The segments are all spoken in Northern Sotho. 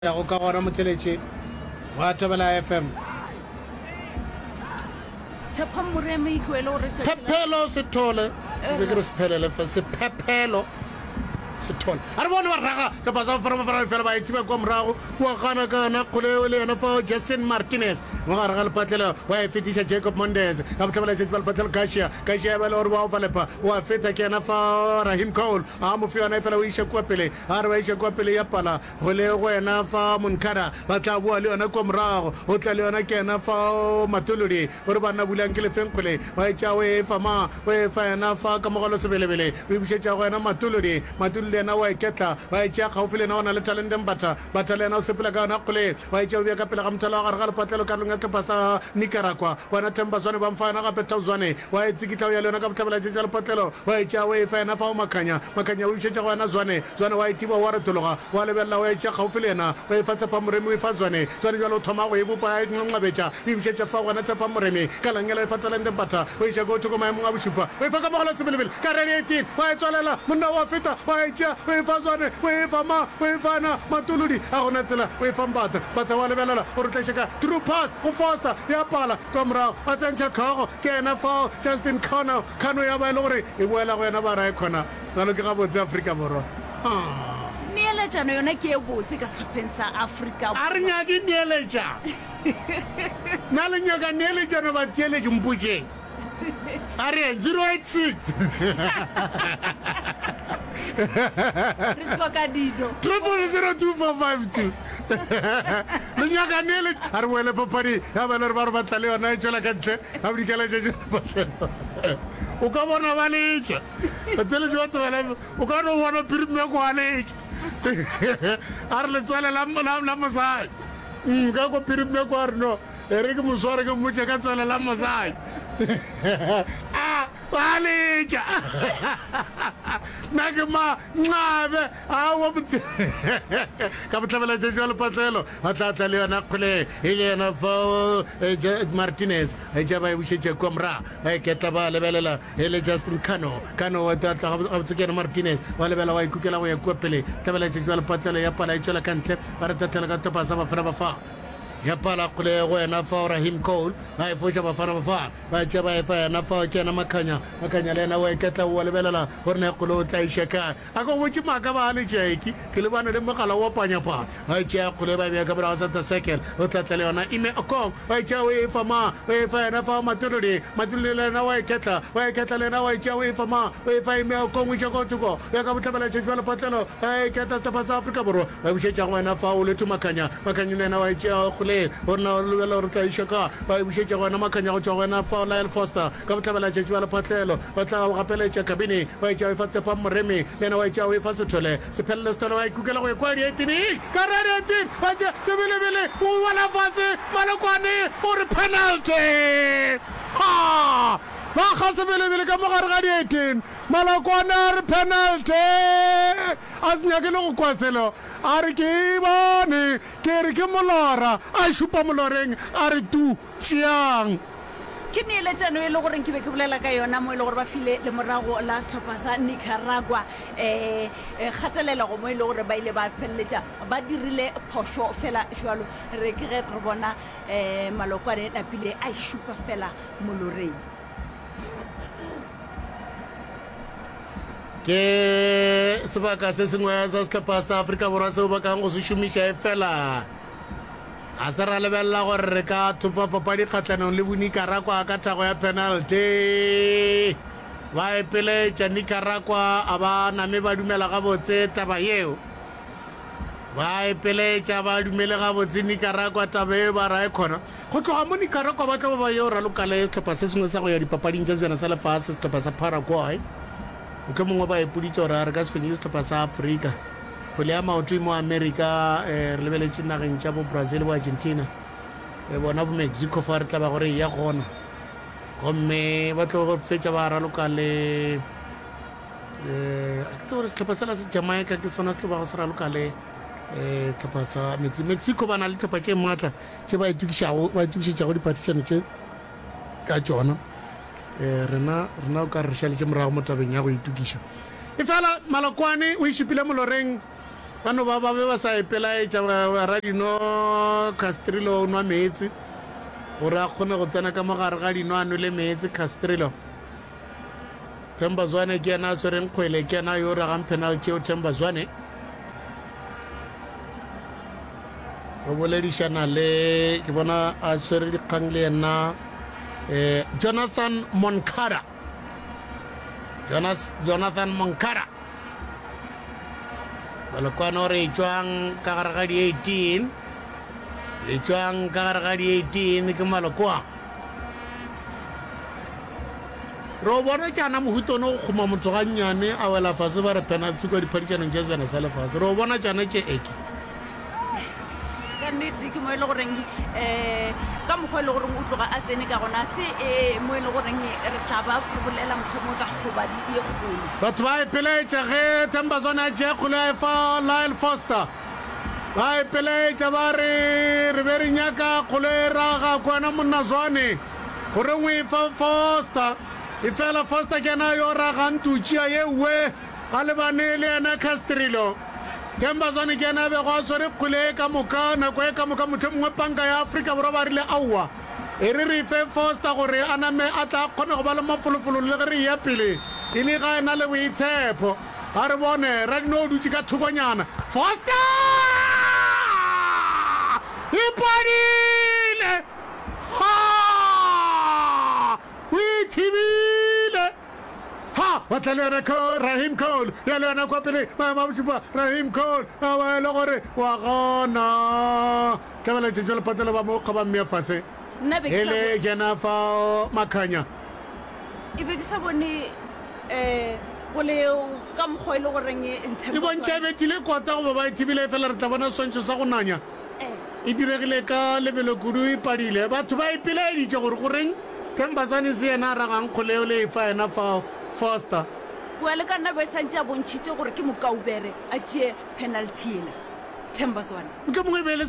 Yago ka gona motheletše wa Thobela FM. Tshepo Moremi ke wele gore tšatši la- Phephelo Sethole ke be ke re sephelele fe sephephelo Sethole a re bone ba raga kapa sa fara fara fela ba ithiba kwa morago wa gana ka yona kgole le yena fa Jason Martinez mo gare ga lepatlelo wa e fetiša Jacob Mondes ka bohlabela tšatši ba lepatlelo Garcia Garcia ba le gore wa overlapa wa feta ke yena fa Rahim Cole a mo fe yona e fela o iša kua pele a re ba iša kua pele ya pala Go le go wena fa Monkada, ba tla boa le yona kua morago. O tla le yona ke yena fa Matolodi. O re banna bulang ke lefeng kgole. Wa e tšea o e fa ma, o e fa yena fa Kamogelo Sebelebele. O e bušetša go yena Matolodi. Matolodi yena o a e ketla. Wa e tšea kgaufi le yena o na le talente Mbatha. Mbatha le yena o sepela ka yona kgole. Wa e tšea o bea ka pele ga mothalo wa gare ga lepatlelo karolong ya sehlopha sa Nicaragua. Wena Themba Zwane ba mfa yona gape Tau Zwane. Wa e tsikitla o ya le yona ka bohlabela tšetša lepatlelo. Wa e tšea o e fa yena fa o Makhanya. Makhanya o e bušetša go yena Zwane. Zwane wa e thiba, wa retologa, wa lebelela, wa e tšea kgaufsi le yena, wa e fa Tshepa Moremi, o e fa Zwane. Zwane bjale o thoma go e bopa, a e nqanqabetša, o e bušetša fao gona Tshepa Moremi. Ka langela o e fa Talente Mpatha, o e iša ko thoko maemong a bošupa, o e fa Kamogelo Sebelebele, ka redi 18, wa e tswalela, monna wa feta, wa e tšea, o e fa Zwane, o e fa ma, o e fa yena Matolodi, a gona tsela, o e fa Mpatha. Mpatha wa lebelela, o re tla ka through pass go Foster, ya pala, kwa morago, wa tsentšha hlogo, ke yena fao Justin Connell, Kano ya ba e le gore e boela go yena ba ra e khona. Bjalo ke gabotse Afrika Borwa. Haa. Neeletšano yona ke e botse ka sehlopheng sa Afrika A re nyake neeletšano. Na le nyaka neeletšano batheeletši? Mpotšeng. A re yeng 086. Re hloka dino. 0002452. Le nyaka neeletšano. A re boele papading ya ba e le gore ba re batla le yona e tšwela ka ntle ga bodikela tšatši la O ka bona ba letša. Batheeletši ba Thobela FM, o ka no bona phirimeko a letša. A re letswele la, la, la mosadi. Mm, ka ko phirimeko a re no, e re ke mo sware ke mmotše ka tswele la mosadi. A, ba letša. Nna ke ma nxabe, aowa ka bohlabela tšatši wa lepatlelo, ba tla tla le yona kgole e le yena fao eh, Martinez, e tša ba e bušetša kua morago, ba e ketla ba lebelela E le Justin Kano. Kano wa tla gabotse ke yena Martinez. Wa lebela wa ikukela go ya kua pele. Tlabela tšatši wa lepatlelo ya pala e tšwela ka ntle. Ba re tahlelo ka sehlopha sa Bafana Bafana. Ya pala kgole go yena fao Rahim Cole. Ba e foša Bafana Bafana. Ba tšea ba e fa yena fao ke yena Makhanya. Makhanya le yena wa iketla wa lebelela gore na kgole o tla iša kae. A ka go botše maaka ba le Jackie. Ke lebane le mogala wa panyapanya. Ba e tšea kgole ba e bea ka morago center circle. O tla tla le yona Ime Okong. Wa e tšea o e fa ma. O e fa yena fa Matolodi. Matolodi le yena wa e ketla. Wa e ketla le yena wa e tšea o e fa ma. O e fa Ime Okong o iša ko thoko. Ya ka bohlabela tšatši ba lepatlelo. Ba e ketla sehlopha sa Afrika Borwa. Ba e bušetša go wena fa Olwethu Makhanya. Makhanya le yena wa e tšea kgole. Gore na o lebela gore o tla iša ka. Ba e bušetša go wena Makhanya go tšwa go wena fa Lyle Foster. Ka bohlabela tšatši ba lephatlelo ba tla go gapeletša kabini wa etša o efa Tsepang Moremi le yena wa etša o efa Sethole Sephelele Sethole wa ikukela go ekwa dietini ka radietini wa tša Sebelebele o wela fase Malokwane o re penalty ha ba kga Sebelebele ka mogare ga dietini Malokwane a re penalty a se nyake le go kwa selo a re ke e bone ke re ke molora a šupa moloreng a re tu Tšeang. Ke neeletšano e le goreng ke be ke bolela ka yona mo e le gore ba file lemorago la sehlopha sa Nicaragua um kgatelelego mo e le gore ba ile ba feleletša ba dirile phošo fela jwalo re ke ge re bona um Malokwane napile a e šupa fela moloreng. Ke sebaka se sengwe sa sehlopha sa Afrika Borwa seo ba kang go se šomiša efela Ga se ra lebelela gore re ka thopa papadi kgahlanong le boNicaragua ka thago ya penalty. Ba epeletša Nicaragua a ba name ba dumela gabotse taba yeo. Ba epeletša ba dumele gabotse Nicaragua taba yeo ba ra e khona. Go tloga mo Nicaragua ba tlo ba ba yo raloka le sehlopha se sengwe sa go ya dipapading tša Sebjana sa Lefase, sehlopha sa Paraguay. Mohlomongwe ba ipoditše gore a re ka se fenye sehlopha sa Afrika. Kgwele ya maoto e mo Amerika, eh, re lebeletše nageng tša bo Brazil bo Argentina, e bona bo Mexico fa re tla ba gore e ya gona. Gomme ba tlo fetša ba raloka le eh, a ke tsebe gore sehlopha sela se Jamaica ke sona se tlo bago se raloka le eh, sehlopha sa Mexico. Mexico ba na le dihlopha tše maatla tše ba itokišago ba itokišetšago diphathišano tše ka tšona. Eh, rena rena o ka re šaletše morago mo tabeng ya go itokiša. Efela Malokwane o e šupile moloreng. Ba no ba ba be ba sa ipelaetša radino Castrillo o nwa meetse gore a kgone go tsena ka mogare ga dino a nwele meetse Castrillo. Themba Zwane ke yena a swereng kgwele, ke yena yo ragang penalty eo Themba Zwane. O boledišana le ke bona a swere dikgang le yena eh, Jonathan Moncada. Jonas, Jonathan Moncada. Balokwane o re etšwang ka gare ga di-18 etšwang ka gare ga di-18 ke malokoa re o bona tšana mohuta one go kgoma motho gannyane a wela fase ba re penalty kwa diphadišanong tša sejana sa lefase re o bona tšana tše eke ka nnete ke mo e le goreng um ka mokgwa e le goreng o tloga a tsene ka gona se um mo e le goreng re tla ba re bolela mohlomongwe ka kgobadi e kgolo. Batho ba ipelaetša ge Themba Zwane a tšea kgole a efa Lyle Foster. Ba ipelaetša ba re, Re be re nyaka kgole e raga kwana monna Zwane, goreng o efa Foster? Efela Foster ke yena yo ragang tutšia ye nngwe. A lebane le yena Castrillo. Themba Zwane ke yena a bego a swere kgwele ye ka moka nako ye ka moka, mohlomongwe panka ya Afrika Borwa ba rile aowa, e re re fe Foster gore a name a tla kgone go ba le mafolofolo le ge re eya pele e le ga ena le boitshepho. A re bone, Radino o dutše ka thokonyana. Foster! E padile! Ha! O e thibile! Ha! Ba tla le yona Cole, Rahim Cole, ya le yona kwa pele, maemo a bošupa, Rahim Cole, a ba e le gore wa gona. Tlabela tšetšo lephatelo ba mo kgoba mmea fase. Nna be ke sa Ele kena fao Makhanya. E be ke sa bone um go le ka mokgwa e le goreng E bontšha e bethile kota goba ba e thibile, efela re tla bona seswantšho sa go nanya. E diregile ka lebelo kudu, e padile. Batho ba ipelaeditše gore goreng Themba Zwane se yena a ragang kgole eo le efa yena fao Foster. Kua le ka nna be santše a bontšhitše gore ke mokaubere a tšee penalty yela. Themba Zwane. Mohlomongwe e be e le,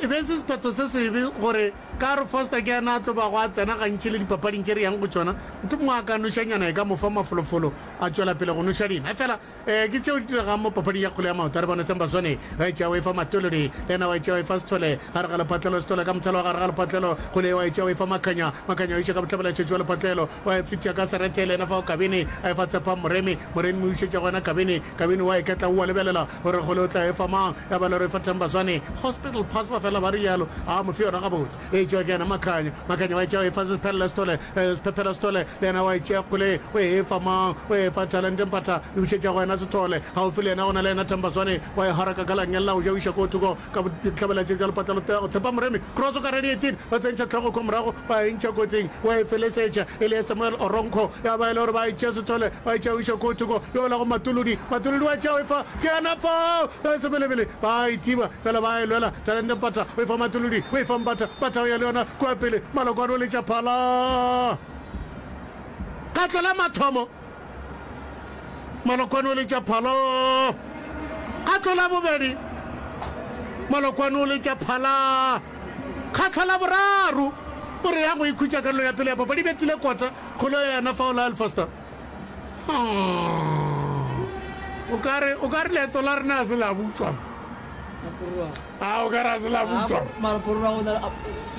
e be e se sephetho se sebe gore ka gore Foster ke yena a tlo bago a tsena gantši le dipapading tše re yang go tšona, mohlomongwe a ka nošanyana e ka mo fa mafolofolo a tšwela pele go noša dino. Efela Ee, ke tšeo di diregang mo papading ya kgwele ya maoto. A re bone Themba Zwane wa e tšea wa e fa Matolodi, le yena wa e tšea wa e fa Sithole gare ga lephatlelo, Sithole ka mothalo wa gare ga lephatlelo, kgwele ye wa e tšea wa e fa Makhanya, Makhanya o iša ka bohlabela tšhetši wa lephatlelo, wa e fetiša ka serethe, le yena fao Kabini a e fa Tshepang Moremi, Moremi o išetša go yena Kabini, Kabini wa iketla o a lebelela gore kgwele o tla e fa mang, ya ba le gore e fa Themba Zwane, hospital pass ba fela ba rialo, a mo fe yona gabotse. E tšwa ke yena Makhanya. Makhanya wa e tšea o e fa Sephelela Sithole. Sephephela Sithole le yena wa e tšea kgole o e fa mang? O e fa Talente Mphatha. E bušetša go yena Sithole. Gaufi le yena go na le yena Themba Zwane. Wa e haraka ka langeng la go ja o iša ko thoko ka bohlabela tše bja lepatla go tshepa Moremi. Cross ka ready 18 ba tsentšha hlogo ko morago ba e ntšha kotsing wa e felesetša e le Samuel Oronko. Ya ba e le gore ba e tšea Sithole ba e tšea o iša ko thoko yo la go Matolodi. Matolodi wa e tšea o e fa ke yena fao Sebelebele ba e thiba fela ba e lwela Talente Mpatha o e fa Matolodi, o e fa Mpatha, Mpatha o ya le yona kua pele, Malokwane o letša phala. Kgatlo la mathomo, Malokwane o letša phala. Kgatlo la bobedi, Malokwane o letša phala. Kgatlo la boraro, o re ya go ikhutša karolo ya pele ya papadi, bethile kota kgolo ya yena fao Lyle Foster. O ka re, o ka re leeto la rena a se la butšwa. A o ka re a se la butšwa. Mara Corona o na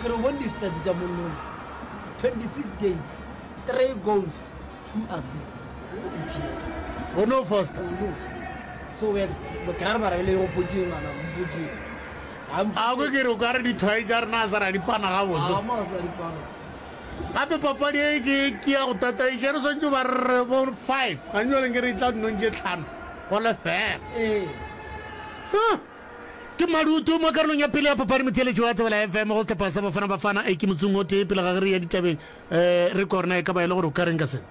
ke re bone di-stats tša monnona 26 games 3 goals 2 assists go EPL. O no Foster. O no. So we ke ra re mara le go potšeng ngwana mpotšeng. A ko ke re o ka re dithwai tša rena a sa ra di pana gabotse. A mo a sa di pana. Gape papadi e ke ke ya go tataiša, re swanetše ba re bo 5, gantši jale nke re tla dinong tše tlhano go lefela. Ee. Huh. Ke madutu mo karolong ya pele ya papadi motheeletši wa Thobela FM go sehlopha sa Bafana Bafana e ke motsung o tee pele ga ge re ya ditabeng um re kwa gore na e ka ba e le gore o ka reng ka sena.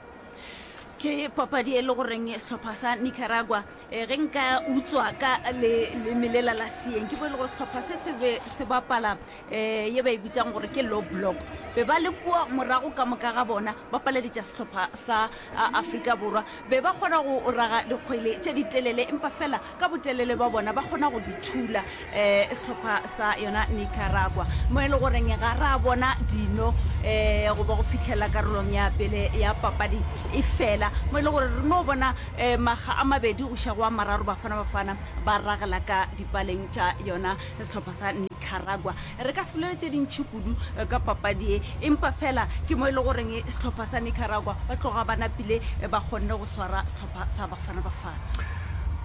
Ke papadi e le goreng sehlopha sa Nicaragua eh, ge nka utswa ka le leme lela la seeng ke bo e le gore sehlopha se se be se bapala um ye ba e bitsang gore ke low block be ba le kua morago ka moka ga bona ba paleditša sehlopha sa Afrika Borwa be ba kgona go raga dikgwele tše ditelele empa fela ka botelele ba bona ba kgona go di thula um sehlopha sa yona Nicaragua mo e le goreng ga ra bona dino um goba go fihlela karolong ya pele ya papadi e fela. fela mo e le gore re no bona um makga a mabedi go iša go a mararo Bafana Bafana ba ragela ka dipaleng tša yona sehlopha sa Nicaragua. Re ka se bolele tše dintši kudu ka papadi ye, empa fela ke mo e le goreng sehlopha sa Nicaragua ba tloga ba napile ba kgonne go swara sehlopha sa Bafana Bafana.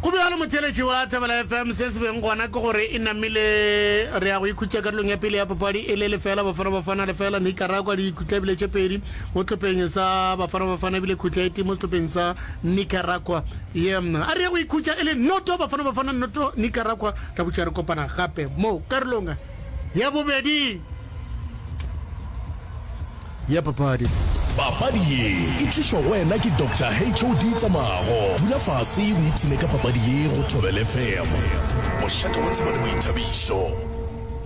Go bjalo motheeletši wa Thobela FM, se se beng gona ke gore e namile re ya go ikhutša karolong ya pele ya papadi e le lefela Bafana Bafana lefela Nicaragua dikhutla ebile tše pedi mo sehlopheng sa Bafana Bafana ebile khutla e tee mo sehlopheng sa Nicaragua. Ye a re ye go ikhutša e le noto Bafana Bafana noto Nicaragua tla butša re kopana gape mo karolong ya bobedi ya papadi. Papadi ye e tlišwa go wena ke Doctor HOD Tsamago. Dula fase o ipshine ka papadi ye go Thobela FM, mošate wa tsebo le boithabišo.